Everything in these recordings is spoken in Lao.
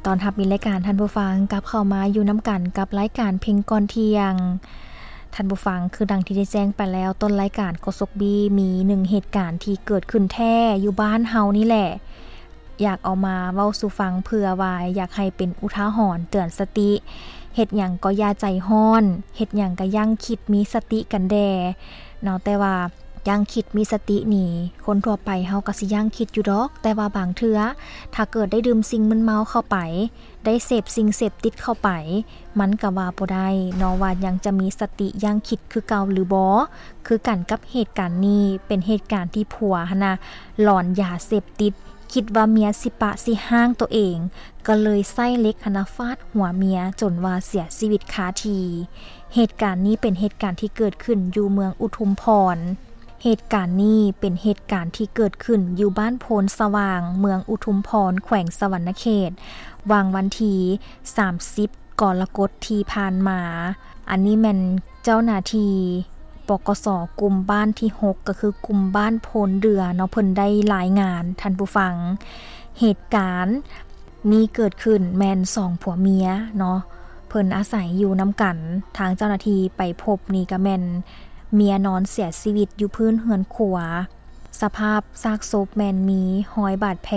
ຕ້ອນຮັບມິດລາຍການ ທ່ານຜູ້ຟັງ ກັບເຂົ້າມາຢູ່ນຳກັນກັບລາຍການເພັງກ່ອນທ່ຽງ. ທ່ານຜູ້ຟັງ, ຄືດັ່ງທີ່ໄດ້ແຈ້ງໄປແລ້ວ ຕົ້ນລາຍການໂຄສົກບີ ມີໜຶ່ງເຫດການທີ່ເກີດຂຶ້ນແທ້ຢູ່ບ້ານເຮົານີ້ແຫຼະ ຢາກເອົາມາເວົ້າສູ່ຟັງ ເພື່ອວ່າຢາກໃຫ້ເປັນອຸທາຫອນເຕືອນສະຕິ. ເຮັດຫຍັງກໍຢ່າໃຈຮ້ອນ, ເຮັດຫຍັງກໍຢັ້ງຄິດມີສະຕິກັນແດ່ເນາະ. ແຕ່ວ່າ ຢັ້ງຄິດມີສະຕິນີ້ ຄົນທົ່ວໄປເຮົາກໍຊິຢັ້ງຄິດຢູ່ດອກ, ແຕ່ວ່າບາງເທື່ອ ຖ້າເກີດໄດ້ດື່ມສິ່ງມຶນເມົາເຂົ້າໄປ, ໄດ້ເສບສິ່ງເສບຕິດເຂົ້າໄປ, ມັນກໍວ່າບໍ່ໄດ້ເນາະ ວ່າຍັງຈະມີສະຕິຢັ້ງຄິດຄືເກົ່າຫຼືບໍ່. ຄືກັນກັບເຫດການນີ້ ເປັນເຫດການທີ່ຜົວຫັ້ນນະ ຫຼອນຢາເສບຕິດ, ຄິດວ່າເມຍຊິປະຊິຮ້າງໂຕເອງ, ກໍເລີຍໃຊ້ເຫຼັກຫັ້ນນະຟາດຫົວເມຍຈົນວ່າເສຍຊີວິດຄາທີ່. ເຫດການນີ້ເປັນເຫດການທີ່ເກີດຂຶ້ນຢູ່ເມືອງອຸທຸມພອນ. ເຫດການນີ້ເປັນເຫດການທີ່ເກີດຂຶ້ນຢູ່ບ້ານໂພນສະຫວ່າງ ເມືອງອຸທຸມພອນ ແຂວງສະຫວັນນະເຂດ ຫວ່າງວັນທີສາມສິບ ກໍລະກົດທີ່ຜ່ານມາ. ອັນນີ້ແມ່ນເຈົ້າໜ້າທີ່ ປກສ ກຸ່ມບ້ານທີຫົກ ກໍຄືກຸ່ມບ້ານໂພນເດືອເນາະ ເພິ່ນໄດ້ລາຍງານ ທ່ານຜູ້ຟັງ. ເຫດການນີ້ເກີດຂຶ້ນແມ່ນສອງຜົວເມຍເນາະ ເພິ່ນອາໄສຢູ່ນຳກັນ. ທາງເຈົ້າໜ້າທີ່ໄປພົບນີ້ກໍແມ່ນເມຍນອນເສຍຊີວິດຢູ່ພື້ນເຮືອນຄົວ. ສະພາບຊາກສົບແມ່ນມີຮອຍບາດແຜ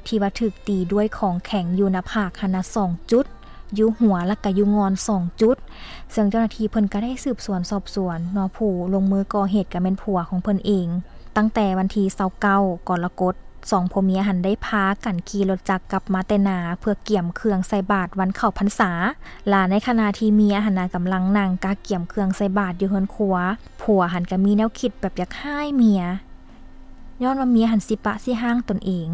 ທີ່ວ່າຖືກຕີດ້ວຍຂອງແຂງຢູ່ໜ້າຜາກຫັ້ນນະສອງຈຸດ, ຢູ່ຫົວ ແລ້ວກະຢູ່ງ່ອນສອງຈຸດ. ເຊິ່ງເຈົ້າໜ້າທີ່ເພິ່ນກະໄດ້ສືບສວນສອບສວນເນາະ, ຜູ້ລົງມືກໍ່ເຫດກະແມ່ນຜົວຂອງເພິ່ນເອງ. ຕັ້ງແຕ່ວັນທີຊາວເກົ້າ ກໍລະກົດ ສອງຜົວເມຍຫັ້ນໄດ້ພາກັນຂີ່ລົດຈັກກັບມາແຕ່ນາ ເພື່ອກຽມເຄື່ອງໃສ່ບາດວັນເຂົ້າພັນສາ. ລະໃນຂະນະທີ່ເມຍຫັ້ນນະກຳລັງນັ່ງກະກຽມເຄື່ອງໃສ່ບາດຢູ່ເຮືອນຄົວ, ຜົວຫັ້ນກະມີແນວຄິດແບບຢາກຮ້າຍເມຍ ຍ້ອນວ່າເມຍຫັ້ນຊິປະຊິຮ້າງຕົນເອງ.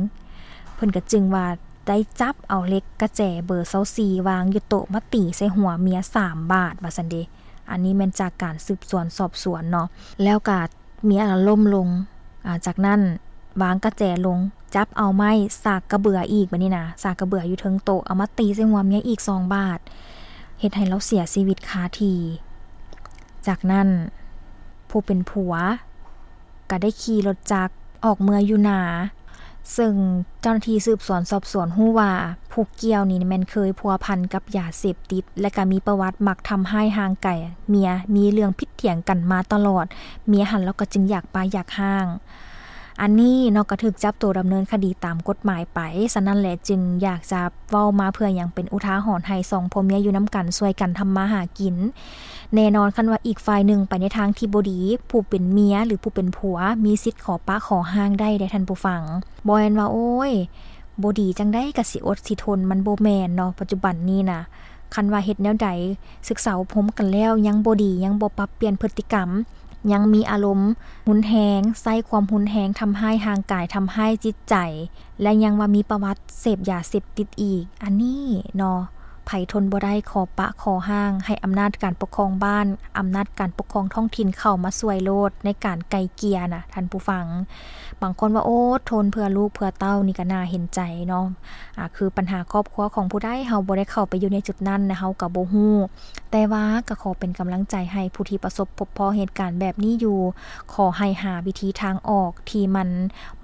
ເພິ່ນກະຈຶ່ງວ່າໄດ້ຈັບເອົາເຫຼັກກະແຈເບີຊາວສີ່ ວາງຢູ່ໂຕະມາຕີໃສ່ຫົວເມຍສາມບາດວ່າຊັ້ນເດ. ອັນນີ້ແມ່ນຈາກການສືບສວນສອບສວນເນາະ. ແລ້ວກະ ເມຍລະລົ້ມລົງ. ອາ ຈາກນັ້ນວາງກະແຈລົງ, ຈັບເອົາໄມ້ສາກກະເບືອອີກ, ບາດນີ້ນະ ສາກກະເບືອຢູ່ເທິງໂຕະ ເອົາມາຕີໃສ່ຫົວເມຍອີກສອງບາດ, ເຮັດໃຫ້ລາວເສຍຊີວິດຄາທີ່. ຈາກນັ້ນຜູ້ເປັນຜົວກະໄດ້ຂີ່ລົດຈັກອອກເມືອຢູ່ນາ, ເຊິ່ງເຈົ້າໜ້າທີ່ສືບສວນສອບສວນຮູ້ວ່າ ຜູ້ກ່ຽວນີ້ແມ່ນເຄີຍພົວພັນກັບຢາເສບຕິດ ແລະກະມີປະຫວັດມັກທຳຮ້າຍຮ່າງກາຍເມຍ, ມີເລື່ອງຜິດ ຖຽງກັນມາຕະຫຼອດ, ເມຍຫັ້ນລາວກໍຈຶ່ງຢາກປະຢາກຮ້າງ. ອັນນີ້ເນາະ ກໍຖືກຈັບໂຕດຳເນີນຄະດີຕາມກົດໝາຍໄປ. ສະນັ້ນແຫຼະ ຈຶ່ງຢາກຈະເວົ້າມາເພື່ອຫຍັງ ເປັນອຸທາຫອນໃຫ້ສອງຜົວເມຍຢູ່ນຳກັນ ຊ່ວຍກັນທຳມາຫາກິນ. ແນ່ນອນ ຄັນວ່າອີກຝ່າຍໜຶ່ງໄປໃນທາງທີ່ບໍ່ດີ, ຜູ້ເປັນເມຍ ຫຼື ຜູ້ເປັນຜົວ ມີສິດຂໍປະຂໍຮ້າງໄດ້ເດ້ທ່ານຜູ້ຟັງ. ບໍ່ແມ່ນວ່າ ໂອ້ຍ ບໍ່ດີຈັ່ງໃດກໍຊິອົດຊິທົນ, ມັນບໍ່ແມ່ນເນາະ. ປັດຈຸບັນນີ້ນະ ຄັນວ່າເຮັດແນວໃດ ສຶກສາອົບຮົມກັນແລ້ວຍັງບໍ່ດີ, ຍັງບໍ່ປັບປ່ຽນພຶດຕິກຳ, ຍັງມີອາລົມຮຸນແຮງ, ໃຊ້ຄວາມຮຸນແຮງ ທຳຮ້າຍຮ່າງກາຍ, ທຳຮ້າຍຈິດໃຈ ແລະ ຍັງວ່າມີປະຫວັດເສບຢາເສບຕິດອີກ, ອັນນີ້ເນາະ ໃຜທົນບໍ່ໄດ້ ຂໍປະຂໍຮ້າງ, ໃຫ້ອຳນາດການປົກຄອງບ້ານ, ອຳນາດການປົກຄອງທ້ອງຖິ່ນເຂົ້າມາຊ່ວຍໂລດໃນການໄກ່ເກ່ຍນະທ່ານຜູ້ຟັງ. ບາງຄົນວ່າ ໂອ້ ທົນເພື່ອລູກເພື່ອເຕົ້າ ນີ້ກໍໜ້າເຫັນໃຈເນາະ. ອາ ຄືປັນຫາຄອບຄົວຂອງຜູ້ໃດ ເຮົາບໍ່ໄດ້ເຂົ້າໄປຢູ່ໃນຈຸດນັ້ນນະ ເຮົາກໍບໍ່ຮູ້, ແຕ່ວ່າກໍຂໍເປັນກຳລັງໃຈໃຫ້ຜູ້ທີ່ປະສົບພົບພໍ້ເຫດການແບບນີ້ຢູ່. ຂໍໃຫ້ຫາວິທີທາງອອກທີ່ມັນ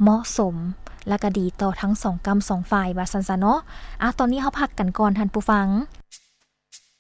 ເໝາະສົມ ແລະກະດີຕໍ່ທັງສອງກ້ຳສອງຝ່າຍ ວ່າຊັ້ນຊະເນາະ. ອາ ຕອນນີ້ເຮົາພັກກັນກ່ອນທ່ານຜູ້ຟັງ.